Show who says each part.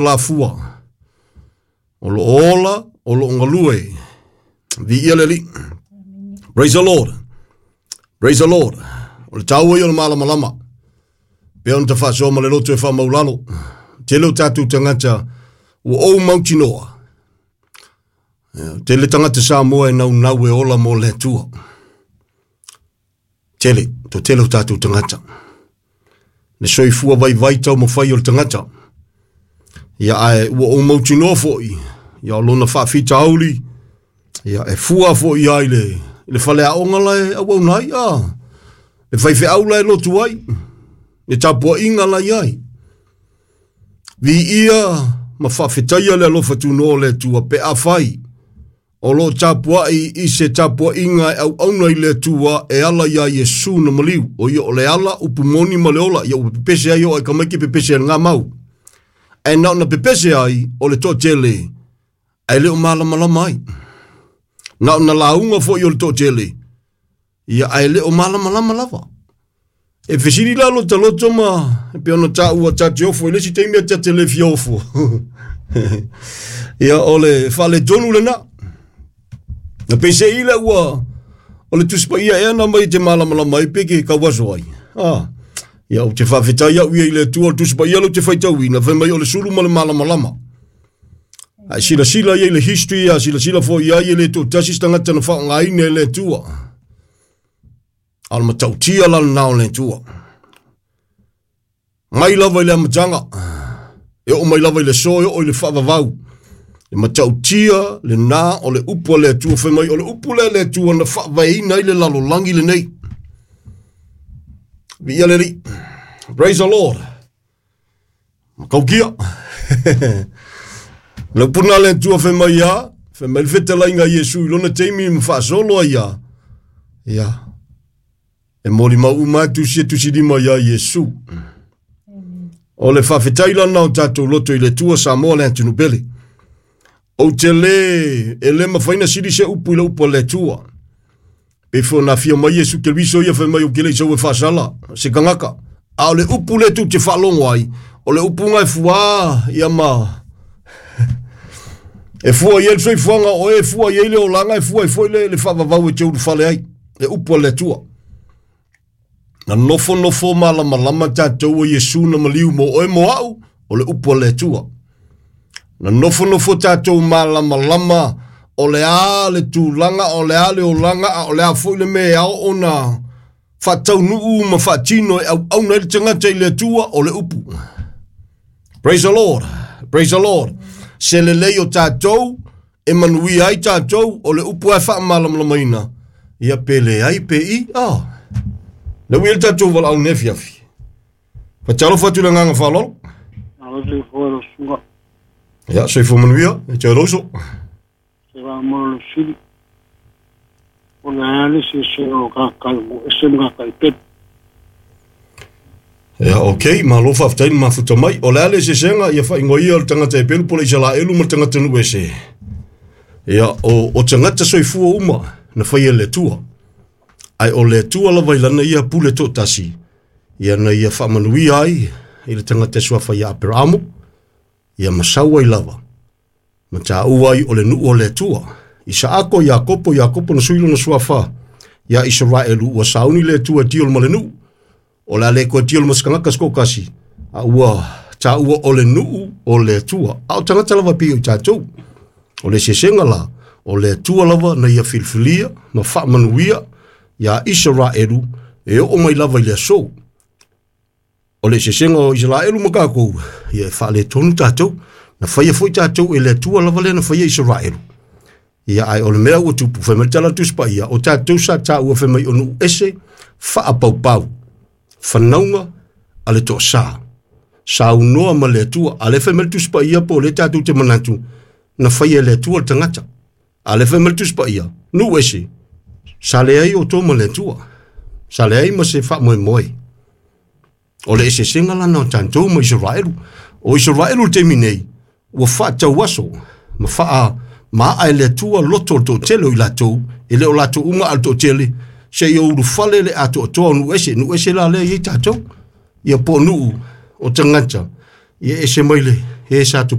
Speaker 1: Lafua, o lo o ola, o lo o galue. Viia le Alii. Praise the Lord. Praise the Lord. O le taua ia o le malamalama. Pea ona tafaasoa ma le loto e faamaulalo. Tele o tatou tagata ua ou mautinoa. Tele tagata Samoa e naunau e ola mo le Atua. Tele, to tele o tatou tagata. Le soifua vaivai taumafai o le tagata. Ia ae ua ou mautinoa foi, ia o lona faafitauli, ia e fua foi ai le faleaoga la e auauna ai, a, le faifeau la e lotu ai, le tapuaiga la i ai. Viia ma faafetaia le alofa tunoa o le Atua pe afai o lo o tapuai i se tapuaiga e auauna i le Atua e ala iā Iesu na maliu, o ia o le ala, upu moni ma le ola, ia ua pepese ai o ai kamaiki pepese ai ngā mau. Ae na ona pepese ai o le toatele, ae le o malamalama ai. Na ona lauga foi o le toatele, ia ae le o malamalama lava. E fesili la lo taloto ma e pe ona taua ta te ofo i le isi taimi a ta te le fia ofo. Ia o le faaletonu lena. Na peisei le ua o le Tusi Paia ea na mai te malamalama ai pe ke kauaso ai. Ah. Ia ou te faafetai au ia i le Atua o le Tusi Paia lou te faitauina, fai mai o le sulu ma le malamalama. Ai silasila ia i le history, a silasila foi ai e le toatasi se tagata na faaaogaina e le Atua. A o le matautia la lena o le Atua. Mai lava i le amataga, e oo mai lava i le aso, e oo i le faavavau. E matautia lena o le upu a le Atua, fai mai o le upu lea a le Atua na faavaeina ai le lalolagi lenei. Viia le Alii. Praise the Lord. Makaukia. Le upu lena a le Atua fai mai ia, fai mai le fetalaiga a Iesu i lona taimi ma faasolo ai ia. Ia. E molimau uma atu sia tusilima iā Iesu. O le faafetai lana o tatou loto i le Atua Samoa le atunuu pele. Ou te le, e le mafai na sili se upu i le upu a le Atua. Pe foi ona afio mai Iesu Keriso ia fai mai ou te le i sau e faasala se tagata. A o le upu lea tou te faalogo ai, o le upu na e fuā ia ma e fua i ai le soifuaga o oe, e fua i ai le olaga, e fua ai foi le faavavau e te ulufale ai, le upu a le Atua. Na nofonofo malamalama tatou o Iesu na maliu mo oe mo au, o le upu a le Atua. Na nofonofo tatou malamalama o le a le tulaga, o le a le olaga, a o le a foi le mea e ao ona faataunuu ma faatino e auauna ai le tagata i le Atua, o le upu. Praise the Lord. Praise the Lord. Se lelei o tatou, e manuia ai tatou, o le upu e faamalamalamaina, ia pe leai pe i, ah. Le ui le tatou valaau nei afiafi. Faatalofa atu i le agaga faaaloalo.
Speaker 2: Alo soifua lau susuga.
Speaker 1: Ia, soifua manuia, e te aloso.
Speaker 2: Se va mo lo sili. O le a le se se o ka ka mo ese ma ka i pep.
Speaker 1: Ia, ok, malo faafetai le mafuta mai. O le a le eseesega, ia faaigoa ia o le tagata e pelu po o le Isaraelu ma le tagata nuu ese. Ia, o tagata soifua uma na faia e le Atua. Ae o le Atua lava i lana ia pule toatasi, ia na ia faamanuia ai i le tagata e suafa ia Aperamo, ia ma sau ai lava, ma taua ai o le nuu o le Atua. Isaako, Iakopo, Iakopo na sui lona suafa ia Isaraelu, ua sauni le Atua e tiolo ma le nuu. O le a le koe tiolo ma se tagata se toatasi, a ua taua o le nuu o le Atua. A o tagata lava pei o i tatou. O le eseesega la, o le Atua lava na ia filifilia ma faamanuia ia Isaraelu e oo mai lava i le aso. O le eseesega o Isaraelu ma tatou, ia e faaletonu tatou. Na faia foi tatou e le Atua lava lea na faia Isaraelu. Ia ae o le mea ua tupu, fai mai le tala a le Tusi Paia, o tatou sa taua fai mai o nuu ese faapaupau, fanauga a le toasa. Saunoa ma le Atua, a le fai mai le Tusi Paia po o lea tatou te manatu, na faia e le Atua le tagata. A le fai mai le Tusi Paia, nuu ese, sa leai outou ma le Atua, sa leai ma se faamoemoe. O le eseesega lana o tatou ma Isaraelu. O Isaraelu i le taimi nei, ua faatauaso ma faa maa e le Atua loto o le toatele o i latou, e le o latou uma a o le toatele, seia ulufale le atoatoa o nuu ese. Nuu ese la lea e i ai tatou. Ia po o nuu o tagata, Ia ese mai le e sa.